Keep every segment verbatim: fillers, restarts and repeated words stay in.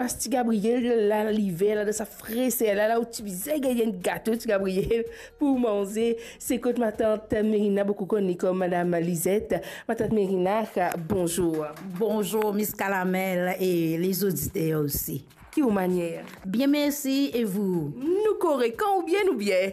Pas Ti Gabriel, la liver la, dan sa freser la, la ou ti bizin gagn enn gato Ti Gabriel pou manze. Se kot matant Merina, boukou kone kom Madam Lizet. Matant Merina, bonzour. Bonzour, Miss Kalamel e lezoditer osi. Ki ou manier? Bien, mersi, e vou? Nou korek, kan ou bien, nou bien.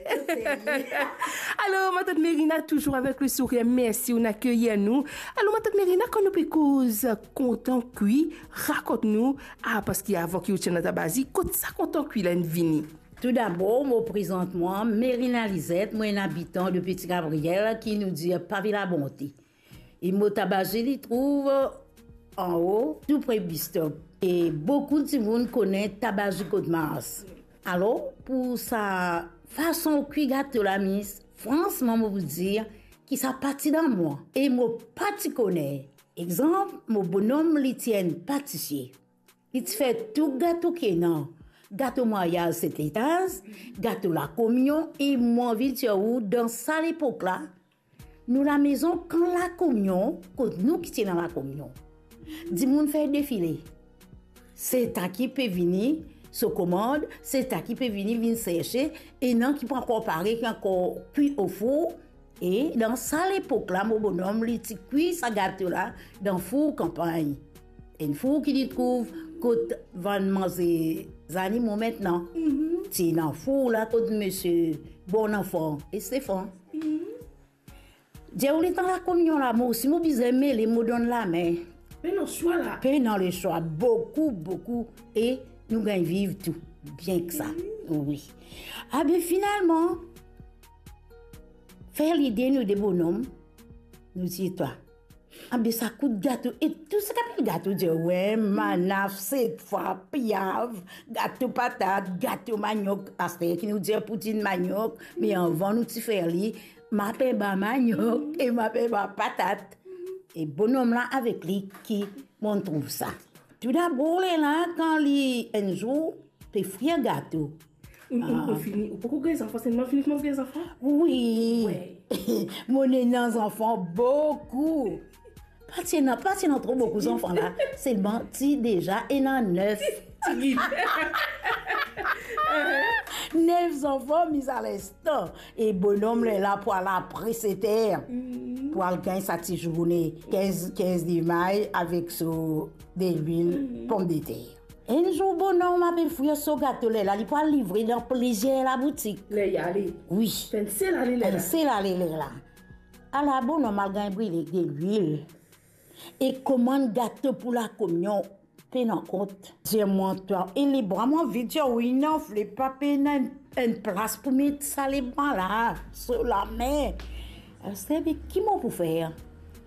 Alor, matant Merina, touzour avek le sourir, mersi ou'nn akeyir nou. Alor, matant Merina, kan nou pe koz kontan kwi, rakont nou, ah, paski avan ki ou ti ena tabazi, kot sa kontan kwi la inn vini? Toudabor, mo prezant mwa, Merina Lizet, mo enn abitan de Ti Gabriel, ki nou dir Pavil Labonte. E mo tabazi li trouv anlo, tou pre bistop. E boukou dimoun kone tabazi kot Mars. Alor, pou sa fason kwi gato la, Miss, fransman, mo pou dir ki sa pa ti dan mwa. E mo pa ti kone. Exanp, mo bonom li ti enn patisie. Li ti fer tou gato ki ena. Gato mwaryaz set etaz, gato lakominion, e mo anvi dir ou, dan sa lepok la, nou lamezon, kan lakominion, kot nou ki ti ena lakominion, dimoun fer defile. Seta ki pe vini so komand, seta ki pe vini vinn serse, ena ki pa ankor pare, ki ankor kwi o four, e dan sa lepok la, mo bonom, li ti kwi sa gato la dan four kanpagn. Enn four ki li trouv kot vann manze zanimo mintnan. Mhm. Ti ena four la kot misie Bonanfan e Stefan. Mhm. Dir ou letan lakominion la, mo osi mo bizin mele, mo donn lame. Pena swa la. Pena leswa, boukou, boukou, e nou gagn viv tou bien ki sa. Mhm. Wi. Abe, finalman, fer lide nou de bonom, nou dir twa, abe, sa kout gato, e tou sa ki apel gato, dir, we, manaf, set fwa, piav, gato patat, gato maniok, aster ki nou dir poudin maniok, me avan nou ti fer li, mapenba maniok e mapenba patat. E bonom la avek li ki mo'nn trouv sa. Toudabor, lerla, kan li enn zour pe frir gato. Ou, ou, ou fini, ou poko gagn zanfan, selman fini koumans gagn zanfan? Wi. We. Mo'nn ena zanfan boukou. Pa ti ena, pa ti ena tro boukou zanfan la. Selman ti deza ena nef. Ti gid. Nef zanfan, mi a les tan. E bonom lerla pou al apre set er, mhm, pou al gagn sa ti zourne kinz, kinz de may avek so delwil, mhm, pomdeter. Enn zour, bonom apel frir so gato, lerla li pou al livre dan plizier laboutik. Ler li ale. Wi. Fer enn sel ale lerla. Enn sel ale lerla. Ala bonom al gagn brile delwil. E komann gato pou lakominion, pena kont. Dir mwa twa, e lebra, mo anvi dir ou, inn anfle, pa pena enn, enn plas pou met sa lebra la, so lame. Aster, be, ki mo pou fer?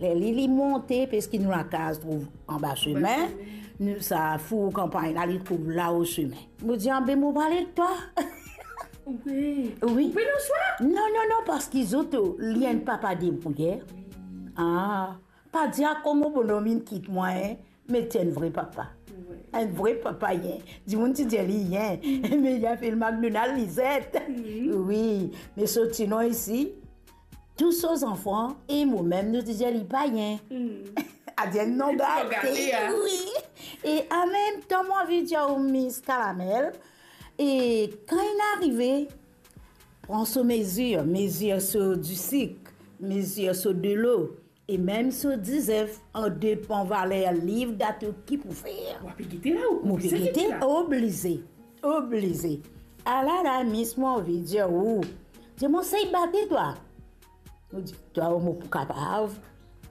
Ler li, li monte, paski nou lakaz trouv anba sime, nou sa four kanpagn la, li trouv lao sime. Mo dir, abe, mo pou al ek twa. Wi. Wi. Ou pena swa? Non, non, non, paski zot, li enn papa debrouyer. Ah. Pa dir kouma bonom inn kit mwa, en, me ti enn vre papa. Wi. Enn vre papa, en. Dimoun ti dir li, en. Mm. Me li apel McDonald Lizet. Mm. Wi, me so ti nom isi, tou so zanfan e momem, nou ti dir li Payen. Mm. Adir nom gate, a. Wi. E anmemtan, mo anvi dir ou, Miss Kalamel, e kan inn arive, pran so mezir, mezir so disik, mezir so delo, e mem so dizef, an depan valer liv gato ki pou fer. Ou pe gete la, ou... Mo pe gete la. Oblize, oblize. Ala la, Miss, mo anvi dir ou, dir mwa, sey bate twa. Mo dir twa, mo pou kapav.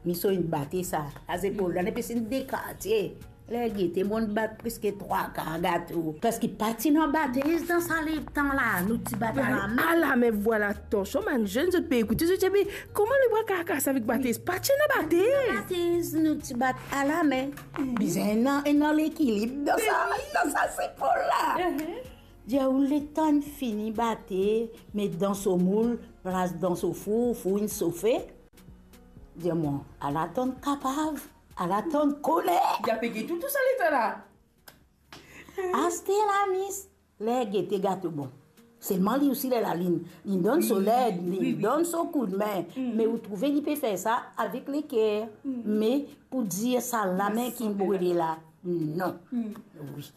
Mi so inn bate sa. Sa zepol la, nepesi de kartie. Ler gete, mo'nn bat preske trwa kar gato. Paski pa ti ena batez dan sa letan la, nou ti bat alame. Alame, vwala, atansion, bann zenn, zot pe ekoute, zot dir, "Me kouma nou pou al kas avek batez?" Pa ti ena batez. Batez, nou ti bat alame. Mhm. Bizin ena, ena lekilib dan sa, dan sa zepol la. Mhm. Dir ou, letan inn fini bate, met dan so moul, plas dan so four, four inn sofe. Dir mwa, al atann kapav, al atann kone. Li ape gete ou tou sa letan la. Aster la, Miss, ler gete gato bon. Selman li osi, lerla li, li donn so led, li donn so koudme. Mm. Me ou trouve li pe fer sa avek leker. Mm. Me pou dir sa lame ki brile la, non. Mm. Wi.